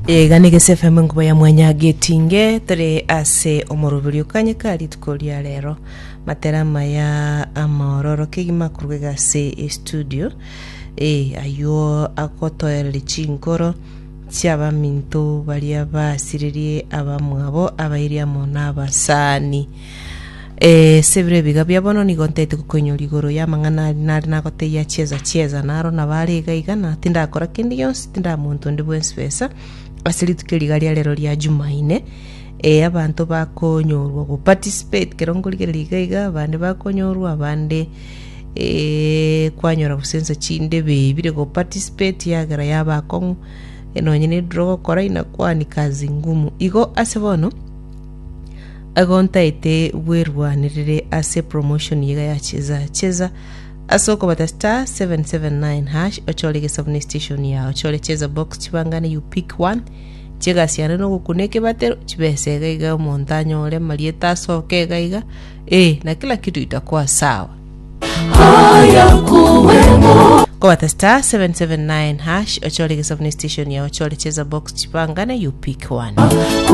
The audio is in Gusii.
Iga nigo ase FM enkuba ya mwanya getinge tore ase omoroberi okanyeka rituko ria rero matera amaya amaororo kegima korwa iga ase estudio eh, aywo agotoereria chinkoro chiabaminto baria basirerie abamwabo abairi amo nabasani Eh, ase ebiro ebiga bia bono nigo ntaete gokoinyora igoro y'amang'ana aria nare nagotebia chieza chieza naro nabo are iga iga na tindakora kende gionsi tindaa monto onde bwensi besa ase rituko eri iga ria rero ria Jumaine eh, abanto bakonyorwa go participate kero nkorigereria iga iga abande bakonyorwa abande eh, kwanyora gose nsa chinde bebire go participate yagera yaba akong'u eh, nonye ne draw ogokora inakuwa ni kazi ngumu. Igo ase bono. Igo ntaete bwerwanerere ase promotion iga ya cheza cheza ase okobata star 779 hash ochore egesabu ne station yao ochore cheza box chibangane you pick one chegasi yane nogokuna ekebatero chibesa iga iga omonto anyore amarieta asoke iga iga eh na kila kitu itakuwa sawa kobata star 779 hash ochore egesabu ne station yao ochore cheza box chibangane you pick one.